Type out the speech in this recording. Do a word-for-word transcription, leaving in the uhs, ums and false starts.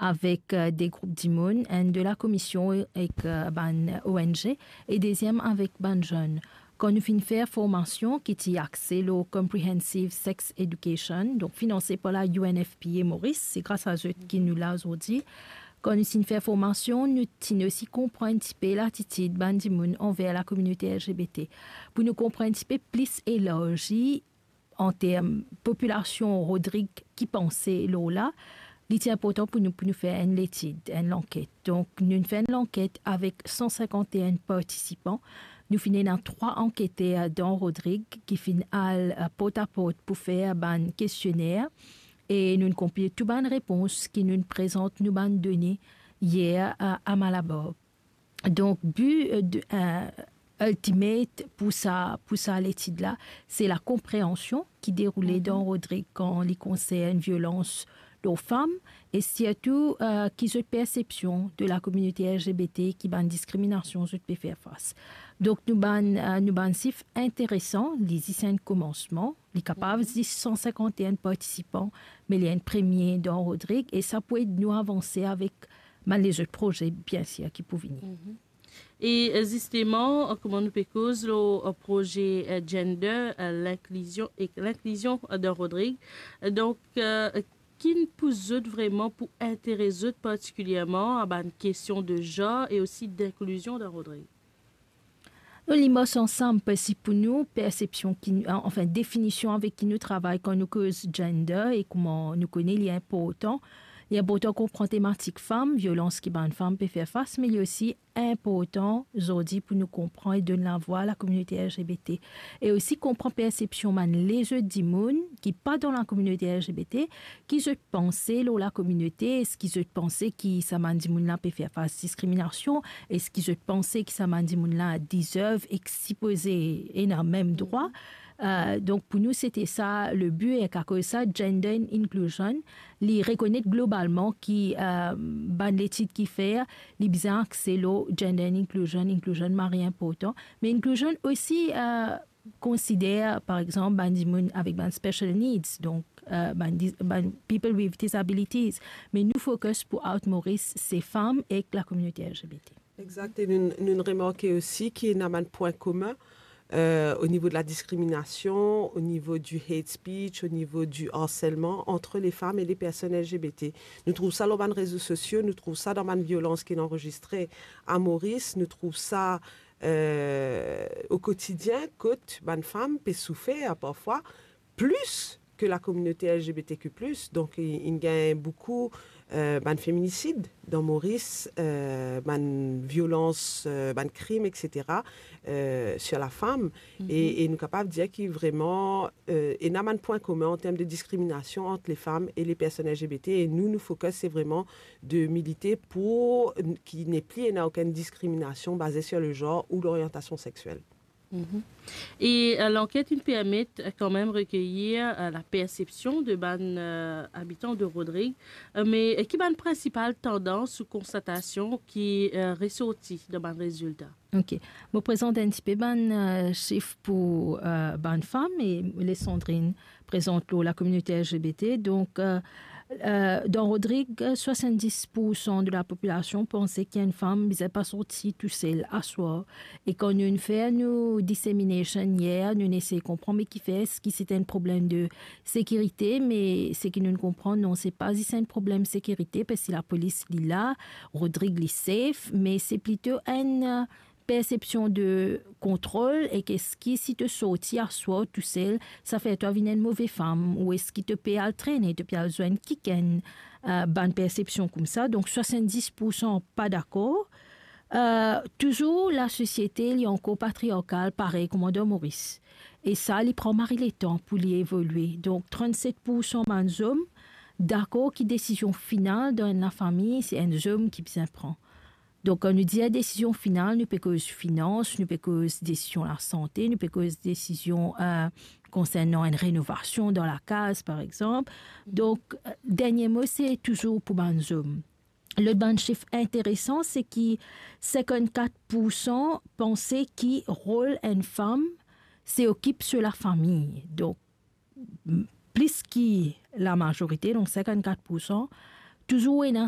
avek, eh, de group dimoun, enn de lakomision ek, eh, bann O N G, e deziem avek bann zenn. Kan nou finn fer formasion ki ti axe lor Comprehensive Sex Education, donk finanse par la U N F P A Maurice, se gras a zot ki nou la zordi. Kan nou finn fer formasion, nou ti osi konpran enn tipe latitid bann dimoun anver lakominote L G B T. Pou nou konpran enn tipe plis elarzi an term popilasion Rodrig ki panse lor la, li ti inportan pou nou, pou nou fer enn letid, enn lanket. Donk, nou fer enn lanket avek san sinkant e enn partisipan. Nou finn ena trwa anketer dan Rodrig ki finn al, eh, port a port pou fer bann kestionner e nou konpil tou bann repons ki nou prezant nou bann done yer, eh, a Malabar. Donk, bi, eh, de, eh, ultimate pou sa, pou sa letid la, se lakonpreansion ki deroule dan Rodrig kan li konsern violans lor fam, e sirtou, eh, ki zot persepsion de lakominote L G B T, ki bann diskriminasion zot pe fer fas. Donk, nou bann, eh, nou bann sif interesan, li zis enn komansman, li kapav zis san sinkant e enn partisipan, me li enn premie dan Rodrig, e sa pou ed nou avanse avek bann lezot proze, biensir, ki pou vini. E, eh, zisteman, eh, kouma nou pe koz lor, eh, proze, eh, gender, eh, linklizion ek linklizion, eh, dan Rodrig. Eh, donk, eh, ki pou zot vreman pou interes zot partikilierman a bann kestion de zanr e osi dinklizion dan Rodrig? Nou, li mars ansam, parski pou nou, persepsion ki, anfin, definision avek ki nou travay kan nou koz gender e kouma nou kone li inportan. Li inportan konpran tematik fam, violans ki bann fam pe fer fas, me li osi inportan zordi pou nou konpran e donn lavwa lakominote L G B T. E osi konpran persepsion bann lezot dimoun ki pa dan lakominote L G B T, ki zot panse lor lakominote, eski zot panse ki sa bann dimoun la pe fer fas diskriminasion, eski zot panse ki sa bann dimoun la deserve ek sipoze ena mem drwa. Eh, donk, pou nou, sete sa le bi, ek akoz sa, gender and inclusion, li rekonet globalman ki, eh, bann letid ki fer, li bizin axe lor gender and inclusion, inclusion mari inportan, me inclusion osi, eh, konsider, par exanp, bann dimoun avek bann special needs, donk, eh, bann dis-, bann people with disabilities, me nou focus pou Out Maurice, se fam ek lakominote L G B T. Exact, e nou, nou remarke osi ki ena bann pwin komin, eh, o nivo de la diskriminasion, o nivo du hate speech, o nivo du harcèlement entre les femmes et les personnes L G B T. Nou trouv sa lor bann rezo sosio, nou trouv sa dan bann violans ki anrezistre a Moris, nou trouv sa, eh, o kotidien, kot bann fam pe soufer parfwa plis ke lakominote L G B T Q plus. Donk, i, inn gagn boukou, eh, bann feminisid dan Moris, eh, bann violans, eh, bann krim, et cetera, eh, sur la femme. Mhm. E, e nou kapav dir ki vreman, eh, ena bann pwin komin an term de diskriminasion ant les femmes et les personnes L G B T. E nou, nou focus, se vreman de milite pou n-, ki nepli ena okenn diskriminasion baze sur le genre ou l'orientation sexuelle. Mhm. E, eh, lanket inn permet, eh, kanmem rekeyir, eh, la persepsion de bann, eh, abitan de Rodrig. Eh, me, eh, ki bann prinsipal tandans ou konstatasion ki, eh, resorti dan bann rezilta? Ok. Mo prezant enn tipe bann, eh, sif pou, eh, bann fam e les Sandrine prezant lor lakominote L G B T. Donk, eh, eh, dan Rodrig, swasanndis poursan de lapopilasion panse ki enn fam bizin pa sorti tousel aswar. E kan nou fer nou dissemination yer, nou esey konpran me kifer, eski se enn problem de sekirite, me seki nou konpran, non, se pa zis enn problem sekirite, parski lapolis li la, Rodrig li safe, me se plito enn, eh, persepsion de kontrol, e ki eski si to sorti aswar tousel, sa fer twa vinn enn move fam, ou eski to pe al trene, to pe al zwenn kikenn, eh, bann persepsion koumsa. Donk, swasanndis poursan pa dakor. Eh, touzour, lasosiete, li ankor patriarkal, parey kouma dan Moris. E sa, li pran mari letan pou li evolie. Donk, trannset poursan bann zom dakor ki desizion final dan enn lafami, se enn zom ki bizin pran. Donk, kan nou dir desizion final, nou pe koz finans, nou pe koz desizion lasante, nou pe koz desizion, eh, konsernan enn renovasion dan lakaz, par exanp. Donk, eh, dernie mo, se touzour pou bann zom. Lot bann sif interesan, se ki sinkannkat poursan panse ki rol enn fam, se okip so lafami. Donk, m-, plis ki lamazorite, donk sinkannkat poursan, touzour ena